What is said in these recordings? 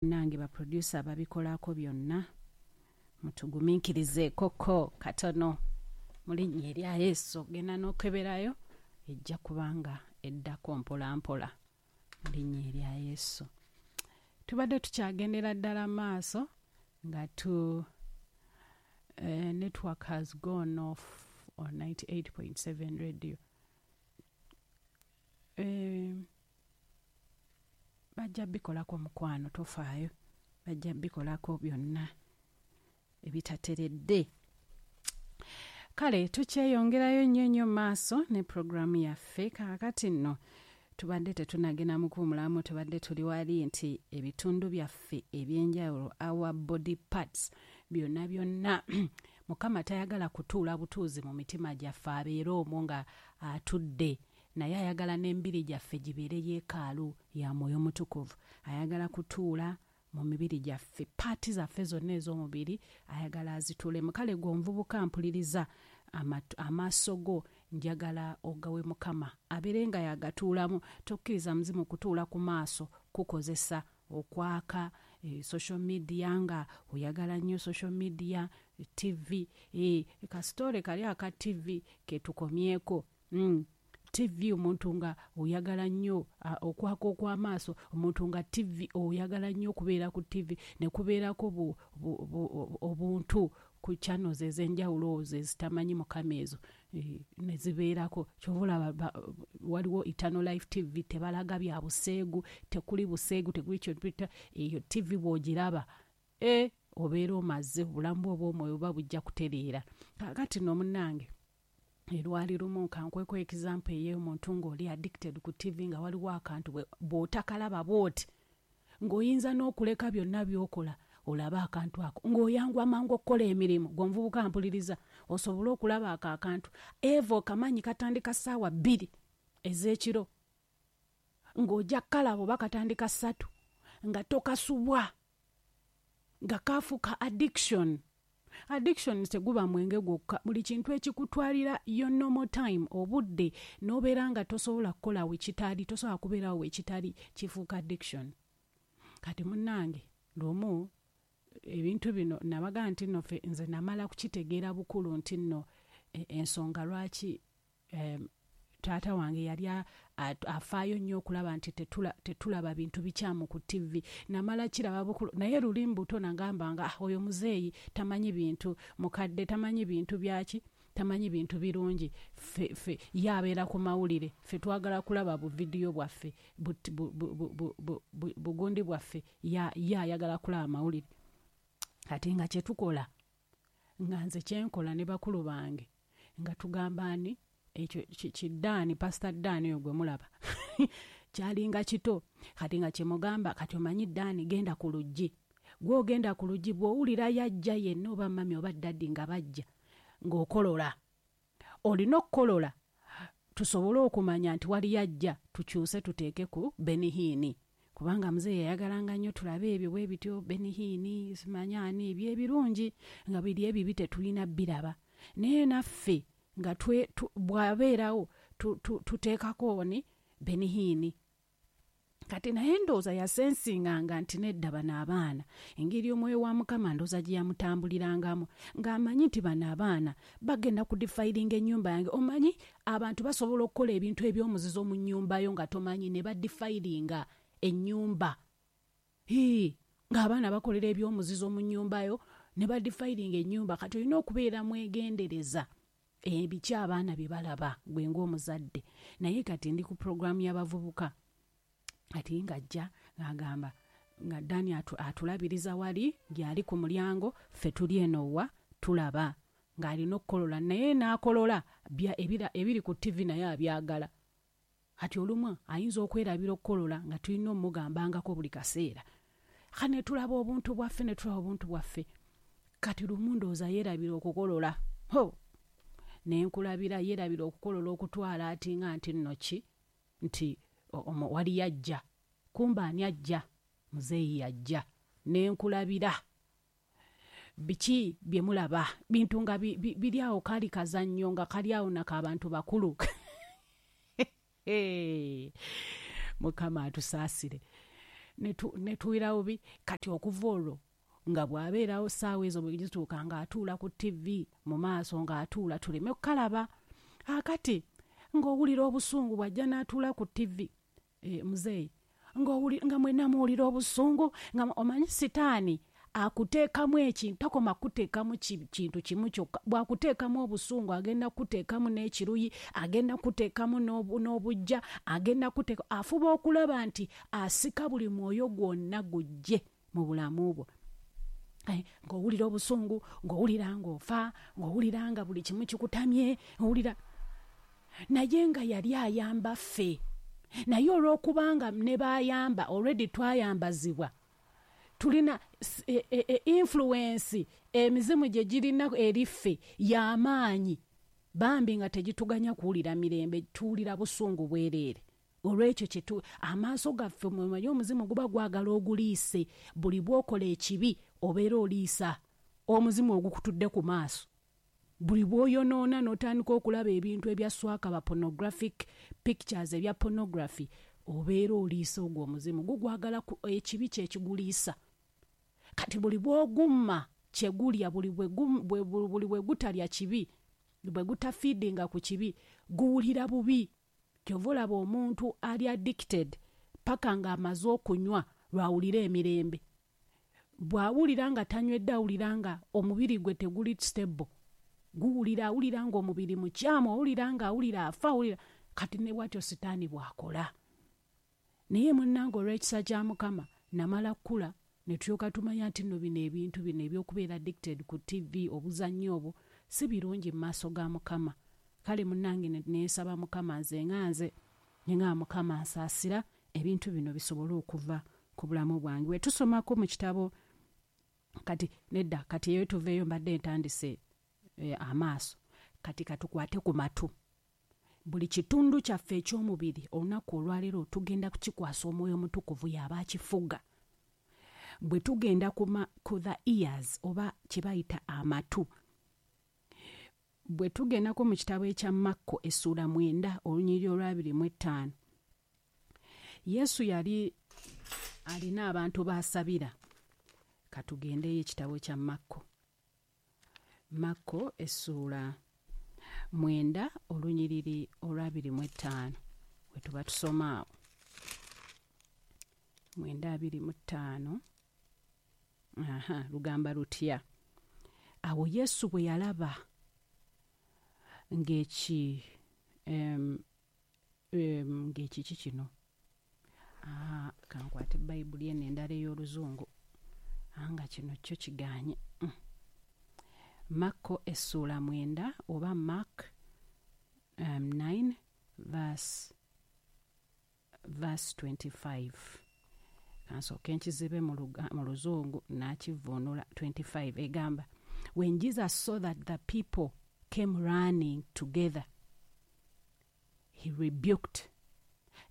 Nange ba producer babikolako byonna, mutugumiikirizeekoko katono mu linnya erya Yesu. Genda n'okeberayo, ejja kubanga eddako mpola mpola mu linnya erya Yesu. Tubadde tukyagendera ddala maaso nga tu network has gone off on 98.7 radio. Bajja bikolako mukwano, tofaayo, bajja bikolako byonna ebitateredde. Kale tukyeyongerayo nnyo nnyo maaso ne puroguramu yaffe. Kaakati nno tubadde tetunagenda mu kuwumulamu, tubadde tuli wali nti ebitundu byaffe ebyenjawulo, our body parts, byonna byonna, Mukama tayagala kutuula butuuzi mu mitima gyaffe abeere omwo nga atudde, naye ayagala n'emibiri gyaffe gibeere yeekaalu ya Mwoyo Mutukuvu. Ayagala kutuula mu mibiri gyaffe, parts zaffe zonna ez'omubiri ayagala azituulemu. Kale gwe omuvubuka mpuliriza, amaaso go njagala ogawe Mukama abeere nga yagatuulamu. Tokkiriza muzimu kutuula ku maaso kukozesa okwaka social media, nga oyagala nnyo social media, TV, kasitole kali aka TV ketukomyeko. TV omuntu nga oyagala nnyo okwaka okw'amaaso, omuntu nga TV oyagala nnyo okubeera ku TV, ne kubeerako obuntu ku channels ez'enjawulo ezo ezitamanyi Mukama ezo ne zibeerako. Kyova olaba waliwo Eternal Life TV, tebalaga bya buseegu, tekuli buseegu, tekuli kyo. Eyo TV bw'ogiraba, obeera omaze obulamu bwo obw'omwoyo buba bujja kutereera. Kaakati nno munnange, erwali lumu kankweko example ey'omuntu ng'oli addicted ku TV, nga waliwo akantu bw'otakalaba bw'oti ng'oyinza n'okuleka byonna by'okola olabe akantu ako, ng'oyanguwa mangu okukola emirimu. Gwe omuvubuka mpuliriza, osobole okulaba ako akantu eva okamanyi katandika ssaawa 2 ez'ekiro, ng'ojja kukalaba oba katandika 3, nga tokasubwa, nga kafuuka addiction. Addiction teguba mwenge gwokka, buli kintu ekikutwalira your normal time, obudde, n'obeera nga tosobola kukola wekitali, tosobola kubeerawo wekitali, kifuuka addiction. Kati munnange, lumu ebintu bino nabaga nti nno ffe nze namala kukitegeera bukulu nti nno ensonga lwaki taata wange yali afaayo nnyo okulaba nti tetulaba bintu bikyamu ku TV, namala kiraba bukulu. Naye luli mbuto nagamba nga, "Ah, oyo muzeeyi tamanyi bintu, mukadde tamanyi bintu byaki, tamanyi bintu birungi. Ffe ye abeera ku mawulire, ffe twagala kulaba buvidiyo bwaffe, bugundi bwaffe, ye ayagala kulaba mawulire." Ate nga kyetukola, nga nze kyenkola ne bakulu bange, nga tugamba ani ekyo kiddaani, Pasita Ddaani oyo gwe mulaba kyalinga kito. Kati nga kyemugamba, "Kati omanyi Ddaani, genda ku luggi, gw'ogenda ku luggi, bw'owulira yajja yenna oba mummy oba daddy nga bajja, ng'okolola. Olina okukolola tusobole okumanya nti wali yajja, tukyuse tuteeke ku Benny Hinn," kubanga muzeeyi yayagalanga nnyo tulabe ebyo bwe bityo, Benny Hinn, simanyi ani, ebyo ebirungi, nga biri ebibi tetulina biraba. Naye naffe nga bw'abeerawo tuteekako ni Benny Hinn. Kati naye ndowooza yasensinganga nti nedda, bano abaana, engeri omwoyo wa Mukama ndowooza gye yamutambulirangamu, ng'amanyi nti bano abaana bagenda kudefilinga ennyumba yange. Omanyi abantu basobola okukola ebintu eby'omuzizo mu nnyumba yo nga tomanyi, ne badefilinga ennyumba. Hii, ng'abaana bakolera ebyomuzizo mu nnyumba yo ne badefilinga ennyumba. Kati olina okubeera mwegendereza ebiki abaana bye balaba, gwe ng'omuzadde. Naye kati ndi ku puroguramu y'abavubuka. Kati ng'ajja ng'agamba nga Dani atulabiriza wali gyali ku mulyango, ffe tuli eno wa tulaba ng'alina okukolola, naye n'akolola ebiri ku TV naye abyagala. Kati olumu ayinza okwerabira okukolola, nga tulina omugambangako buli kaseera. Ka ne tulaba obuntu bwaffe, ne tulaba obuntu bwaffe. Kati lumu ndowooza yeerabira okukolola, ho nenkulabira yeerabira okukolola, okutwala ati nga nti nno ki nti wali yajja, kumba ani ajja? Muzeeyi yajja. Nenkulabira biki bye mulaba, bintu nga biri awo, kali kazannyo nga kali awo nako abantu bakulu. Mukama atusaasire. Ne tuwulira bubi. Kati okuva olwo nga bw'abeerawo ssaawa ezo bwe zituuka ng'atuula ku TV mu maaso, ng'atuula tuleme kukalaba. Akati ng'owulira obusungu bw'ajja n'atuula ku TV, muzeeyi, nga mwenna muwulira obusungu, nga omanyi sitaani akuteekamu ekintu, takoma kuteekamu kintu kimu kyokka. Bw'akuteekamu obusungu agenda kuteekamu n'ekiruyi, agenda kuteekamu n'obujja, agenda kuteeka, afuba okulaba nti asika buli mwoyo gwonna gujje mu bulamu bwo. Ng'owulira obusungu, ng'owulira ng'ofa, ng'owulira nga buli kimu kikutamye, owulira. Naye nga yali ayamba ffe. Naye olw'okubanga ne baayamba, already twayambazibwa, tulina influence emizimu gye girina eri ffe y'amaanyi, bambi nga tegituganya kuwulira mirembe, tuwulira busungu bwereere. Olw'ekyo kyetu amaaso gaffe, mwemanyi omuzimu guba gwagala oguliise. Buli bw'okola ekibi obeera oliisa omuzimu ogukutudde ku maaso. Buli bw'oyonoona n'otandika okulaba ebintu ebya swakaba, pornographic pictures, ebya pornography, obeera oliisa ogwo omuzimu, gugwagala ekibi kye kiguliisa. Kati buli bw'ogumma kye gulya, buli bwe gutalya kibi, bwe gutafiidinga ku kibi, guwulira bubi. Kyova olaba omuntu ali addicted paka ng'amaze okunywa lw'awulira emirembe. Bw'awulira nga tanywedde, awulira nga omubiri gwe teguli stable, guwulira, awulira ng'omubiri mukyamu, awulira nga awulira afa, awulira. Kati ne bw'atyo sitaani bw'akola. Naye munnange olw'ekisa kya Mukama namala kkula ne tulyoka tumanya nti nno bino ebintu bino eby'okubeera addicted ku TV, obuzannyo obwo si birungi mu maaso ga Mukama. Kale munnange ne nsaba Mukama, nze nga nze ne ngamba Mukama nsaasira ebintu bino bisobole okuva ku bulamu bwange. Bwe tusomako mu kitabo kati nedda, kati eyo tuveeyo, mbadde ntandise amaaso. Kati katukwate ku matu. Buli kitundu kyaffe eky'omubiri olunaku olwaleero tugenda kukikwasa Omwoyo Omutukuvu y'aba akifuga. Bwe tugenda ku the ears oba kye bayita amatu, bwe tugendako mu kitabo ekya Makko essuula 9 olunyiriri olwa 25, Yesu yali alina abantu b'asabira. Katugendeyo ekitabo kya Makko, Makko essuula 9 olunyiriri olwa 25, we tuba tusoma awo 9:25. Aha, lugamba lutya? Awo Yesu bwe yalaba ng'eki ng'ekiki kino, kankwate Bayibuli eno endala ey'Oluzungu, nga kino kyo kigaanye. Makko essuula 9 oba Mark 9 verse 25. Kansooke nkizibe mu Luzungu n'akivvuunula. 25 egamba, "When Jesus saw that the people came running together, he rebuked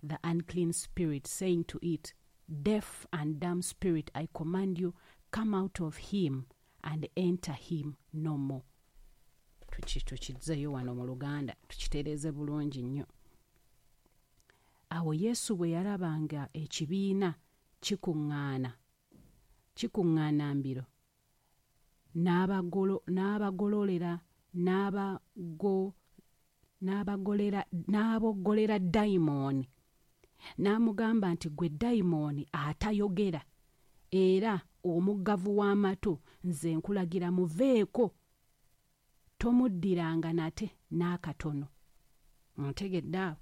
the unclean spirit, saying to it, 'Deaf and dumb spirit, I command you, come out of him and enter him no more.'" Tukizzeeyo wano mu Luganda tukitereeze bulungi nnyo. Awo Yesu bwe yalaba nga ekibiina kikuŋŋaana kikuŋŋaana mbiro, n'abagololera n'aboggolera dayimooni n'amugamba nti, "Gwe dayimooni atayogera era omuggavu w'amatu, nze nkulagira, muveeko, tomuddiranga nate n'akatono." Ntegedde awo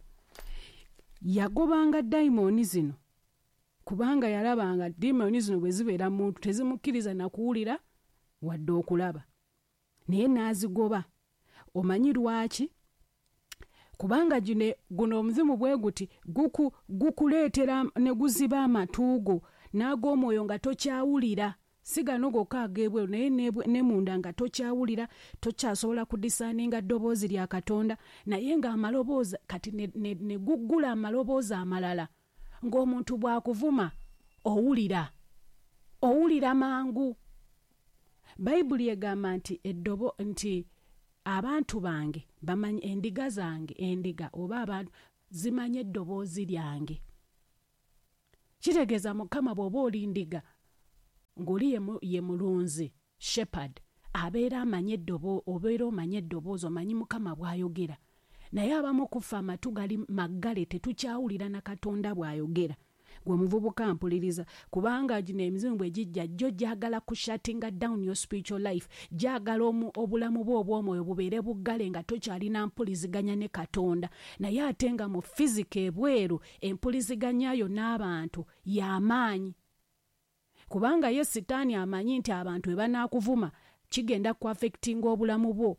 yagobanga dayimooni zino kubanga yalabanga dayimooni zino bwe zibeera muntu tezimukkiriza nakuwulira wadde okulaba, naye n'azigoba. Omanyi lwaki? Kubanga guno omuzimu bwe guti gukuleetera ne guziba amatu go n'ag'omwoyo nga tokyawulira, si gano gokka ag'ebweru, naye ne munda nga tokyawulira, tokyasobola kudiscerninga ddoboozi lya Katonda. Naye ng'amaloboozi kati ne guggula amaloboozi amalala, ng'omuntu bw'akuvuma owulira, owulira mangu. Bayibuli egamba nti eddobo nti abantu bange bamanyi endiga zange, endiga oba abantu zimanyi eddoboozi lyange. Kitegeeza Mukama bw'oba oli ndiga ng'oli ye mulunzi, shepherd, abeera amanye obeera omanye eddoboozi, omanyi Mukama bw'ayogera. Naye abamu kufa amatu gali maggale, tetukyawulira na Katonda bw'ayogera. Gwe muvubuka mpuliriza, kubanga gino emizimu bwe gijja gyo gyagala kushuttinga down your spiritual life, gyagala obulamu bwo obw'omwoyo bubeere buggale nga tokyalina mpuliziganya ne Katonda. Naye ate nga mu physical ebweru empuliziganya yo n'abantu y'amaanyi, kubanga ye Sitaani amanyi nti abantu bwe banaakuvuma kigenda kuaffectinga obulamu bwo.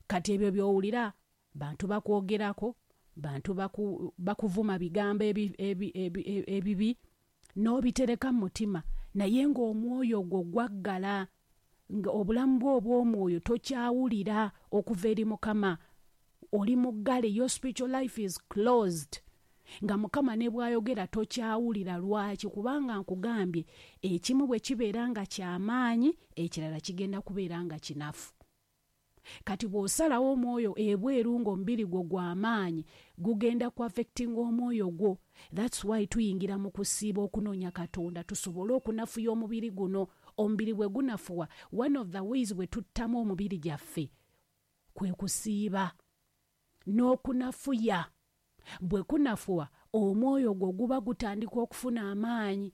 Kati ebyo by'owulira bantu bakwogerako, bantu bakuvuma bigambo ebibi n'obitereka mu mutima, naye ng'omwoyo gwo gwaggala, nga obulamu bwo obw'omwoyo tokyawulira okuva eri Mukama. Oli muggale, your spiritual life is closed. Nga Mukama ne bw'ayogera tokyawulira. Lwaki? Kubanga nkugambye ekimu bwe kibeera nga kyamaanyi, ekirala kigenda kubeera nga kinafu. Kati bw'osalawo omwoyo ebweru ng'omubiri gwo gw'amaanyi, gugenda kuaffectinga omwoyo gwo. That's why tuyingira mu kusiiba okunoonya Katonda tusobole okunafuya omubiri guno. Omubiri bwe gunafuwa, one of the ways bwe tuttamu omubiri gyaffe kwe kusiiba n'okunafuya. Bwe kunafuwa, omwoyo gwo guba gutandika okufuna amaanyi,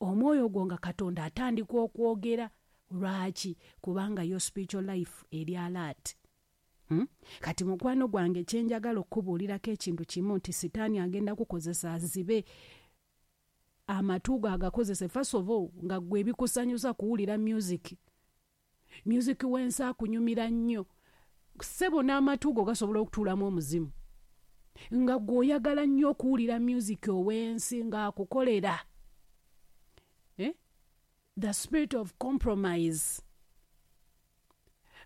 omwoyo gwo nga Katonda atandika okwogera. Lwaki? Kubanga your spiritual life eri alert. Kati mukwano gwange, kyenjagala okukubuulirako ekintu kimu nti Sitaani agenda kukozesa azibe amatu go, agakozese. First of all, nga gwe ebikusanyusa kuwulira music w'ensi akunyumira nnyo, ssebo, n'amatu go gasobola okutuulamu omuzimu, nga gwe oyagala nnyo okuwulira music ow'ensi ng'akukolera, eh? The spirit of compromise,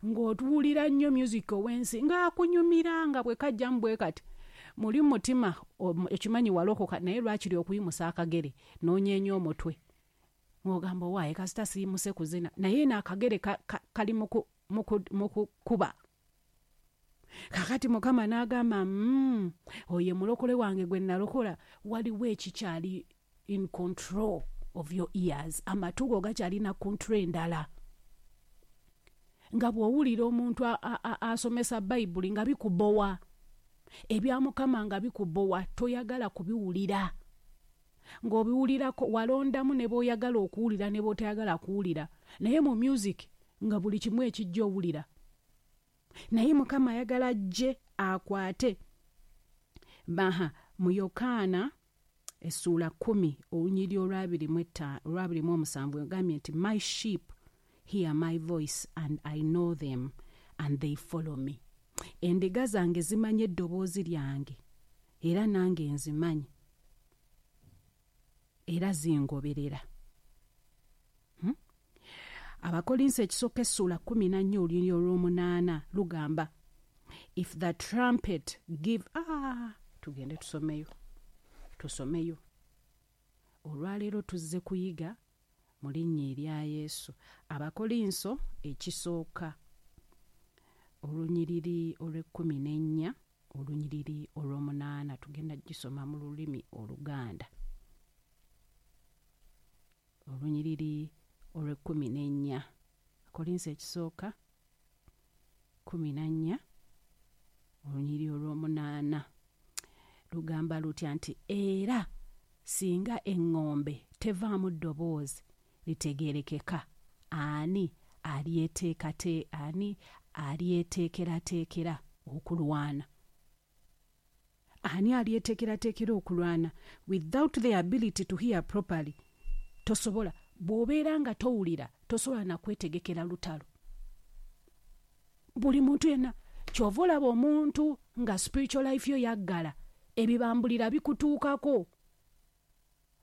ng'otuwulira nnyo music ow'ensi ng'akunyumira, nga bwe kajjamu bwe kati muli mutima okimanyi walokoka, naye lwakiri okuyimusa akagere n'onyeenya omutwe ng'ogamba, owaaye kasita siyimuse kuzina, naye n'akagere kali mu kukuba. Kakati Mukama n'agamba, oyo mulokole wange gwe nalokola, waliwo ekikyali in control of your ears, amatu go gakyalina control endala, nga bw'owulira omuntu asomesa Bayibuli nga bikubowa, ebya Mukama nga bikubowa, toyagala kubiwulira, ng'obiwulirako walondamu ne bw'oyagala okuwulira ne bw'otayagala kuwulira, naye mu music nga buli kimu ekijja owulira. Naye Mukama ayagala ajje akwate baha mu Yokaana essuula 10 olunyiri olwabiri mu ogambye nti, "My sheep hear my voice and I know them and they follow me." Endiga zange zimanyi eddoboozi lyange, era nange nzimanyi, era zingoberera. Abakolinso ekisooka essuula 14 olunyiri olw'omunaana lugamba, if the trumpet give, ah, tugende tusomeyo. Olwaleero tuzze kuyiga mu linnya erya Yesu. Abakolinso ekisooka olunyiriri olw'ekkumi n'ennya olunyiriri olw'omunaana, tugenda gisoma mu lulimi Oluganda. Olunyiriri olw'ekkumi n'ennya, Kolinso ekisooka 14 olunyiriri olw'omunaana lugamba lutya nti, era singa eŋŋombe tevaamu ddoboozi litegeerekeka, ani alyeteekerateekera okulwana? Ani alyeteekerateekera okulwana? Without the ability to hear properly, tosobola. Bw'obeera nga towulira, tosobola nakwetegekera lutalo. Buli muntu yenna, kyova olaba omuntu nga spiritual life yo yaggala, ebibambulira bikutuukako.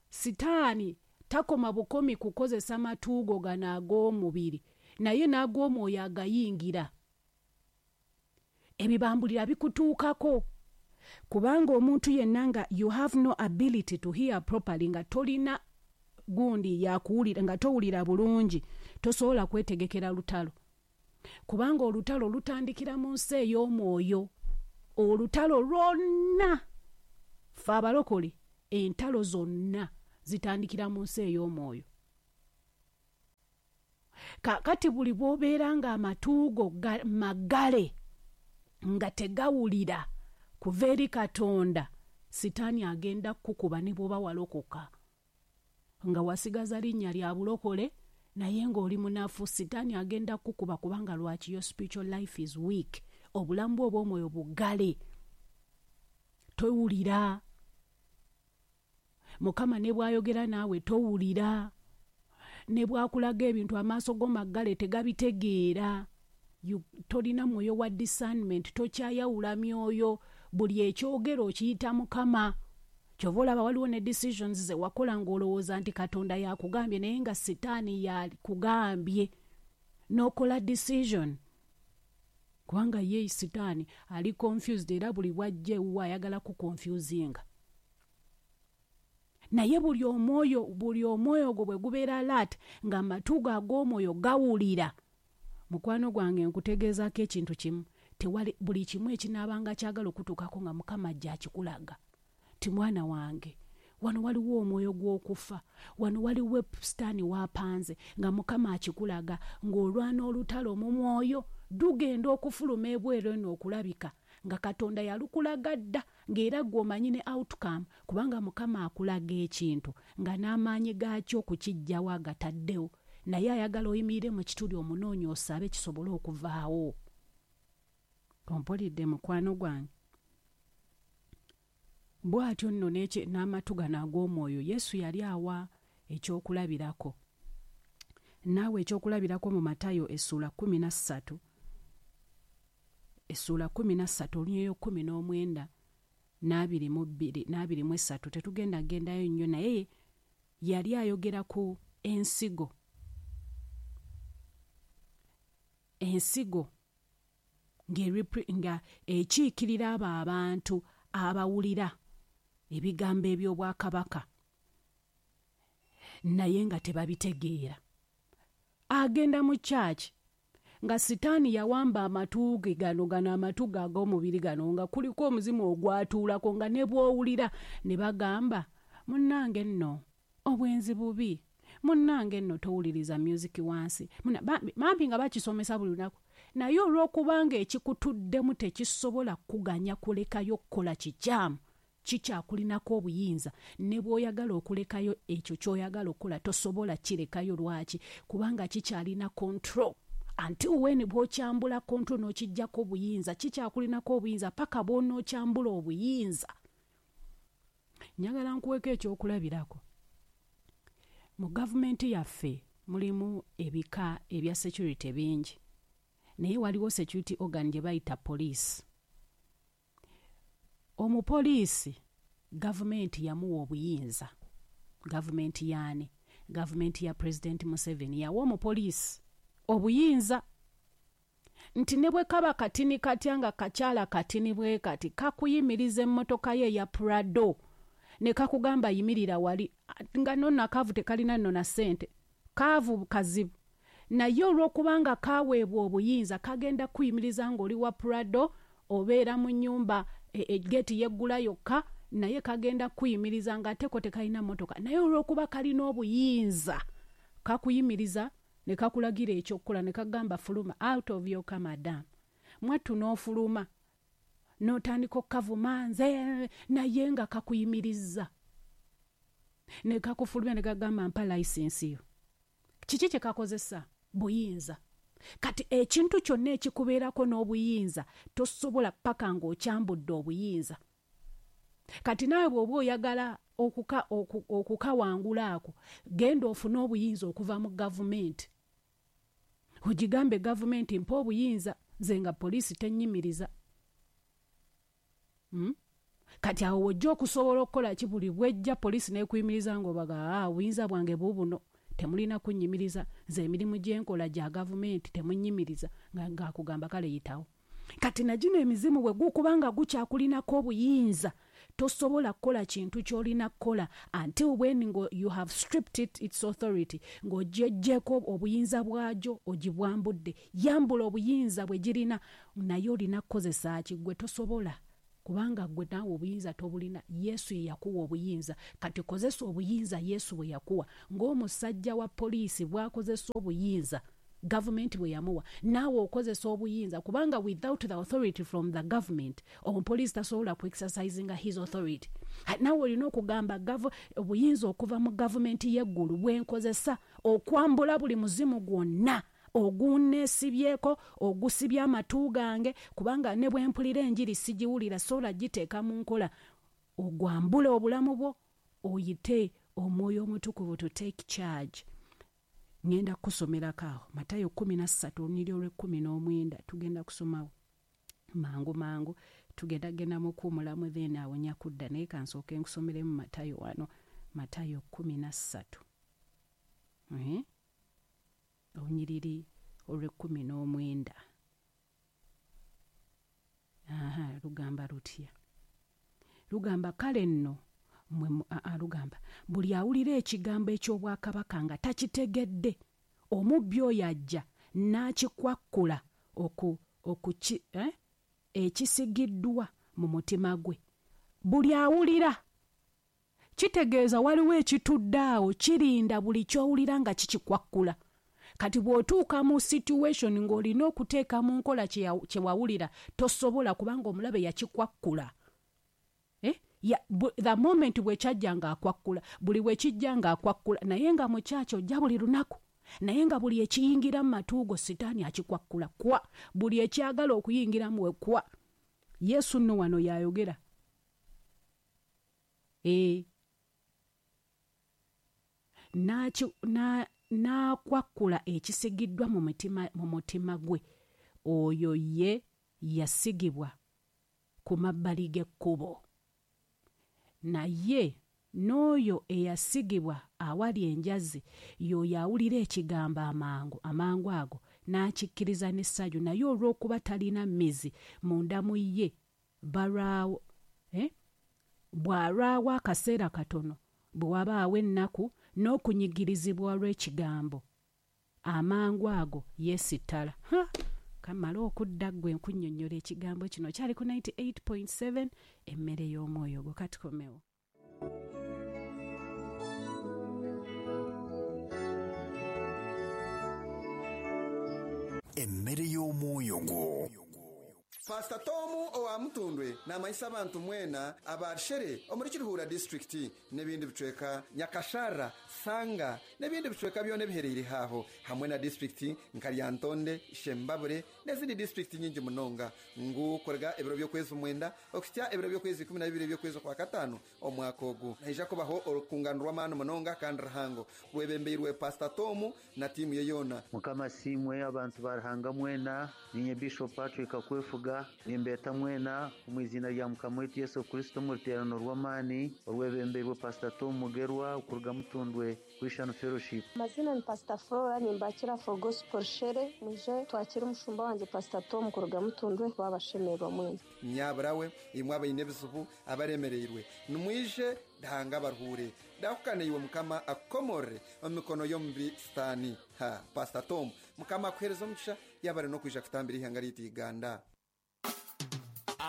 Sitaani takoma bukomi kukozesa matuugo gano ag'omubiri, naye n'ag'omwoyo agayingira. Ebibambulira bikutuukako kubanga omuntu yenna nga you have no ability to hear properly, nga tolina gundi yakuwulira, nga towulira bulungi, tosobola kwetegekera lutalo, kubanga olutalo lutandikira mu nsi ey'omwoyo. Olutalo lwonna, ffe abalokole, entalo zonna Zitandikira mu nsi ey'omwoyo. Kaakati buli bw'obeera ng'amatu go maggale nga tegawulira kuva eri Katonda, Sitaani agenda kukukuba ne bw'oba walokoka. Nga wasigaza linnya lya bulokole naye ng'oli munafu, Sitaani agenda kukukuba kubanga lwaki? Your spiritual life is weak. Obulamu bwo obw'omwoyo buggale. Towulira. Mukama ne bw'ayogera naawe towulira. Ne bw'akulaga ebintu amaaso go maggale tegabitegeera. Tolina mwoyo wa discernment, tokyayawula myoyo. Buli ekyogera okiyita Mukama. Ky'ova olaba waliwo ne decisions ze wakola ng'olowooza nti Katonda yakugambye naye nga Sitaani yakugambye. N'okola decision. Kubanga ye Sitaani ali confused era buli bw'ajja ewuwo ayagala kuconfusinga. Naye buli omwoyo gwo bwe gubeera alert ng'amatu go ag'omwoyo gawulira. Mukwano gwange nkutegeezaako ekintu kimu, tewali buli kimu ekinaabanga kyagala okutuukako nga Mukama ajja akikulaga. Nti mwana wange, wano waliwo omwoyo gw'okufa, wano waliwo Sitaani w'apanze nga Mukama akikulaga ng'olwana olutalo mu mwoyo lugenda okufuluma ebweru eno okulabika nga Katonda yalukulaga dda ng'era ggwe omanyi ne outcome kubanga Mukama akulaga ekintu nga n'amaanyi gaakyo okukiggyawo agataddewo naye ayagala oyimirire mu kituli omunoonye osabe kisobole okuvaawo. Ompulidde mukwano gwange? Bw'atyo nno n'amatu gano ag'omwoyo Yesu yali awa ekyokulabirako. Naawe ekyokulabirako mu Matayo essuula 13 essuula 13 olunyiriri 19 n'abairi 23 tetugenda gendayo nnyo naye yali ayogera ku ensigo. Ensigo nga ekiikirira abo abantu abawulira ebigambo eby'obwakabaka naye nga tebabitegeera. Agenda mu church nga Sitaani yawamba amatu ge gano amatu ge ag'omubiri gano nga kuliko omuzimu ogwatuulako nga ne bw'owulira ne bagamba munnange nno obwenzi bubi, munnange nno towuliriza music wansi, bambi nga bakisomesa buli lunaku. Naye olw'okubanga ekikutuddemu tekisobola kuganya kulekayo kukola kikyamu, kikyakulinako obuyinza ne bw'oyagala okulekayo ekyo ky'oyagala okukola tosobola kirekayo. Lwaki? Kubanga kikyalina control. Until when bw'okyambula control n'okiggyako obuyinza, kikyakulinako obuyinza paka bw'onookyambula obuyinza. Njagala nkuweeko ekyokulabirako. Mu gavumenti yaffe mulimu ebika ebya security bingi, naye waliwo security organ gye bayita police. Omupoliisi gavumenti yamuwa obuyinza. Gavumenti yaani? Gavumenti ya President Museveni yawa omupoliisi obuyinza nti ne bwe kaba katini katya nga kakyala katini bwe kati kakuyimiriza emmotoka ye eya Prado ne kakugamba yimirira wali, nga nno akaavu tekalina nno na ssente, kaavu kazibu. Naye olw'okubanga kaweebwa obuyinza kagenda kuyimiriza ng'oli wa Prado obeera mu nnyumba geeti yeggula yokka naye kagenda kuyimiriza ng'ate ko tekalina mmotoka. Naye olw'okuba kalina obuyinza kakuyimiriza ne kakulagira ekyokukola ne kagamba fuluma out of your car madam. Mwattu n'ofuluma n'otandika okukavuma nze naye nga kakuyimirizza ne kakufulumya ne kagamba mpa license yo. Kiki kye kakozesa? Buyinza. Kati ekintu kyonna ekikubeerako n'obuyinza tosobola paka ng'okyambudde obuyinza. Kati naawe bw'oba oyagala okukawangula ako, genda ofune obuyinza okuva mu gavumenti. Ogigambe gavumenti mpa obuyinza nze nga poliisi tennyimiriza. Kati awo w'ojja okusobola okukola ki? Buli bw'ejja poliisi n'ekuyimiriza ng'obaga obuyinza bwange buubuno temulina kunnyimiriza, nze emirimu gye nkola gya gavumenti temunnyimiriza, ng'akugamba kale yitawo. Kati na gino emizimu bwe gukuba nga gukyakulinako obuyinza tosobola kukola kintu ky'olina kukola until when you have stripped it its authority, ng'ogyeggyeko obuyinza bwagyo ogibwambudde. Yambula obuyinza bwe girina naye olina kukozesa ki? Ggwe tosobola. Kubanga ggwe naawe obuyinza tobulina, Yesu ye yakuwa obuyinza. Kati kozesa obuyinza Yesu bwe yakuwa. Ng'omusajja wa poliisi bw'akozesa obuyinza gavumenti bwe yamuwa, naawe okozesa obuyinza, kubanga without the authority from the government, omupoliisi tasobola ku exercisinga his authority. Naawe olina okugamba obuyinza okuva mu gavumenti y'eggulu bwe nkozesa okwambula buli muzimu gwonna ogunneesibyeko, ogusibye amatu gange, kubanga ne bwe mpulira enjiri sigiwulira, sobola giteeka mu nkola. Ogwambule obulamu bwo, oyite Omwoyo Omutukuvu to take charge. Ŋŋenda kukusomerako awo Matayo 13 olunyiriri olw'ekkumi n'omwenda. Tugenda kusomawo mangu mangu, tugenda genda mu kuwumulamu, then awo nja kudda, naye kansooke nkusomeremu Matayo wano. Matayo 13 olunyiriri olw'ekkumi n'omwenda. Aha, lugamba lutya? Lugamba, kale nno mmwe, lugamba, buli awulira ekigambo eky'obwakabaka nga takitegedde, omubbi oyo ajja n'akikwakkula ekisigiddwa mu mutima gwe. Buli awulira, kitegeeza waliwo ekitudde awo kirinda buli ky'owulira nga kikikwakkula. Kati bw'otuuka mu situation ng'olina okuteeka mu nkola kye wawulira, tosobola, kubanga omulabe yakikwakkula. The moment bwe kyajja ng'akwakkula, buli bwe kijja ng'akwakkula, naye nga mu kyaki ojja buli lunaku, naye nga buli ekiyingira mu matu go sitaani akikwakkula kwa, buli ekyagala okuyingiramu we kwa. Yesu nno wano y'ayogera. N'akwakkula ekisigiddwa mu mutima gwe, oyo ye yasigibwa ku mabbali g'ekkubo. Naye n'oyo eyasigibwa awali enjazi y'oyo awulira ekigambo amangu ago n'akikkiriza n'essanyu, naye olw'okuba talina mmizi munda mu ye, balwawo bw'alwawo akaseera katono, bwe wabaawo ennaku n'okunyigirizibwa olw'ekigambo, amangu ago yeesittala. Kamale okudda ggwe nkunnyonnyola ekigambo kino. Kyali ku 98.7 emmere y'omwoyo gwo. Katukomewo. Emmere y'omwoyo gwo. Pastor Tom owa Mutundwe namanyisa abantu mwena abashere omuri Kiruhura district n'ebindi bicweka Nyakashara, Sanga n'ebindi bicweka byona ebihereire haho, hamwe na district nka Lyantonde, Shembabure n'ezindi district nyingi munonga, ngu korega ebiro by'okwezi 9 okutya ebiro by'okwezi 12 by'okwezi kwa 5 omwaka ogu. Naija kubaho orukungano rw'amaani munonga kandi ruhango rwebembeirwe Pastor Tom na tiimu ye yona. Mukama simwe abantu barahanga mwena, ninye Bishop Patrick Akwefuga, nimbeta mwena mu izina rya Mukama wetu Yesu Kristo mu ruterano rw'amaani orwebembeirwe Pastor Tom Mugerwa okuruga Mutundwe Christian Fellowship. Mazina ni Pastor Flora, nimbakira for Gospel Shere, muje twakira umushumba wanje Pastor Tom kuruga Mutundwe babashemerwa mwena. Nyaburawe imwe abayine bizubu abaremereirwe nimwije dahanga baruhure dahukane iwe Mukama akomore omikono yombi stani. Ha, Pastor Tom Mukama akuhereza omugisha yabare no kwija kutambira ihanga ry'itu Uganda.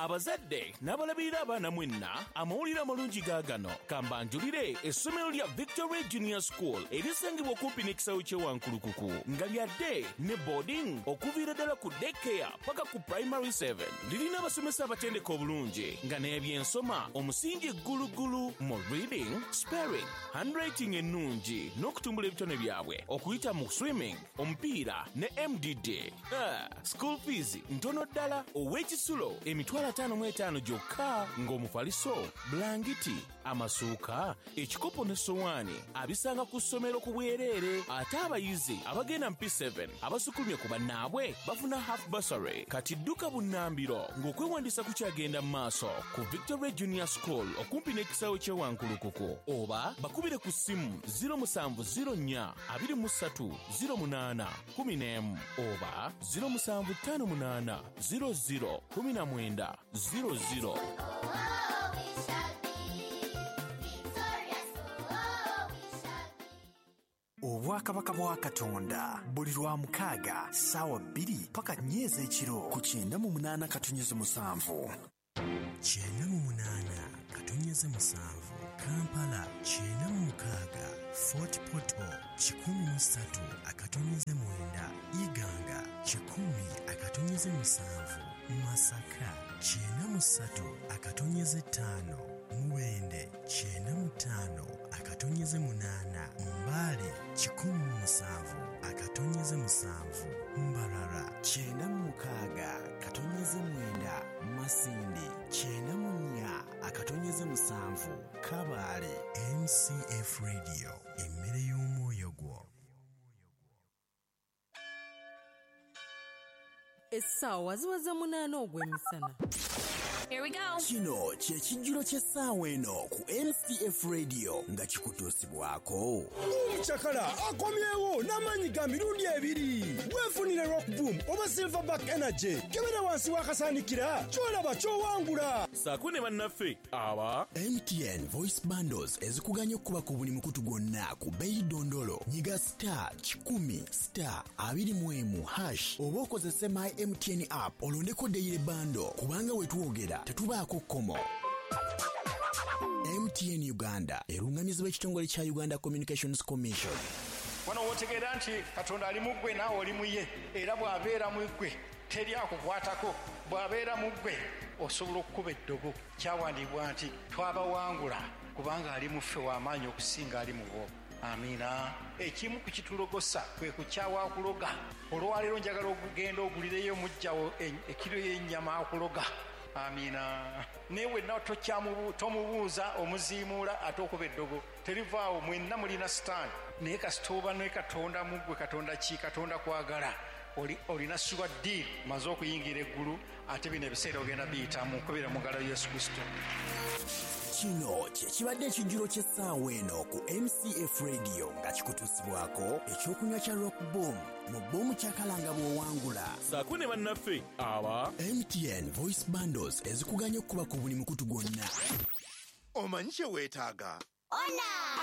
Abazadde n'abalabirira abaana mwenna, amawulire amalungi gaagano. Kambanjulire essomero lya Victory Junior School erisangibwa okumpi n'ekisawo ky'e Wankulukuku, nga lyadde ne boarding okuviira ddala ku daycare paka ku primary 7. Lirina abasomesa abatendeka obulungi nga n'ebyensoma omusingi ggulugulu mu reading, spelling, handwriting ennungi n'okutumbula ebitone byabwe okuyita mu swimming, omupiira ne MDD. School fees ntono ddala, ow'ekisulo emitwalo 55 gyokka, ng'omufaliso, bulangiti, amasuuka, ekikopo ne sowaani abisanga ku ssomero ku bwereere. Ate abayizi abagenda mu P7 abasukulumye ku bannaabwe bafuna half bursary. Kati dduka bunnambiro ng'okwewandiisa kukyagenda mu maaso ku Victory Junior School okumpi n'ekisawo ky'e Wankulukuku, oba bakubire ku ssimu 0704 23 08 11 oba 0758 00 19 00. Obwakabaka bwa Katonda buli lwa mukaaga ssaawa 2 paka 4 ez'ekiro ku 98.7. 98.7, Kampala 96, Fort Portal 103.9, Iganga 100.7, Masaka 93.5, Mubende 95.8, Mbale 107.7, Mbarara 96.9, Masindi 94.7, Kabale. MCF Radio, emmere y'omwoyo gwo. Essaawa ziweze 8 ogw'emisana. Here we go. Kino kye kijjulo ky'essaawa eno ku MCF Radio nga kikutuusibwako. Omucakala akomyewo n'amaanyi ga mirundi ebiri. Weefunire Rock Boom oba Silverback Energy. Kebera wansi w'akasaanikira ky'olaba ky'owangula. Saako ne bannaffe aba MTN Voice Bundles ezikuganya okukuba ku buli mukutu gwonna ku bbeeyi dondolo. Nyiga star 100 star 21 hash oba okozese My MTN app olondeko daily bundle kubanga we twogera tetubaako kkomo. MTN Uganda erungamizibwa ekitongole kya Uganda Communications Commission. Wano w'otegeera nti Katonda ali mu ggwe naawe oli mu ye, era bw'abeera mu ggwe teri akukwatako, bw'abeera mu ggwe osobola okukuba eddogo. Kyawandiibwa nti twabawangula kubanga ali mu ffe w'amaanyi okusinga ali mu bo. Amiina. Ekimu ku kitulogosa kwe kukyawa akuloga. Olwaleero njagala okugenda ogulireyo muggyawo ekiro y'ennyama akuloga. Amiina. Naye wenna tomubuuza omuziimuula ate okuba eddogo terivaawo. Mwenna mulina sitaani, naye kasita oba ne Katonda mu ggwe. Katonda ki? Katonda kwagala. Olina sure deal, maze okuyingira eggulu, ate bino ebiseera ogenda biyitamu kubira mu ngalo Yesu Kristo. Kino kye kibadde ekijjulo ky'essaawa eno ku MCF Radio nga kikutuusibwako ekyokunywa kya Rock Boom mu boomu kyakalanga bw'owangula. Saako ne bannaffe aba MTN Voice Bundles ezikuganya okukuba ku buli mukutu gwonna. Omanyi kye weetaaga? Ona!